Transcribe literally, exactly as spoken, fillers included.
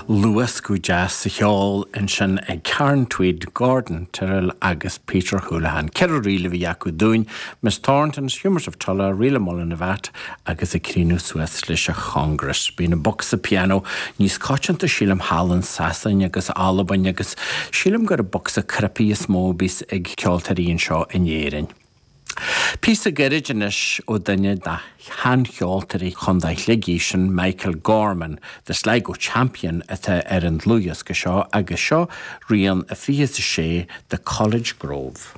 Luascadh deas sa cheol ansin ag Karen Tweed, Gordon Tyrrell agus Peter Houlihan. Ceithre ríl a bhí acu dúinn, Miss Thornton's Humours of Tulla, Reel of Mullinavat agus ag críochnú suas leis a Congress. Bíonn an bocsa pianó níos coitianta sílim thall in Sasain agus Albain agus sílim gur an bocsa cnaipí is mó a bhíos ag ceoltóirí anseo in Éirinn. Píosa gairid anois ó duine de sheancheoltóirí Chontae Shligigh sin Michael Gorman, The Sligo Champion atá ar an dlúthdhiosca seo agus seo rian a fiche sé The College Grove.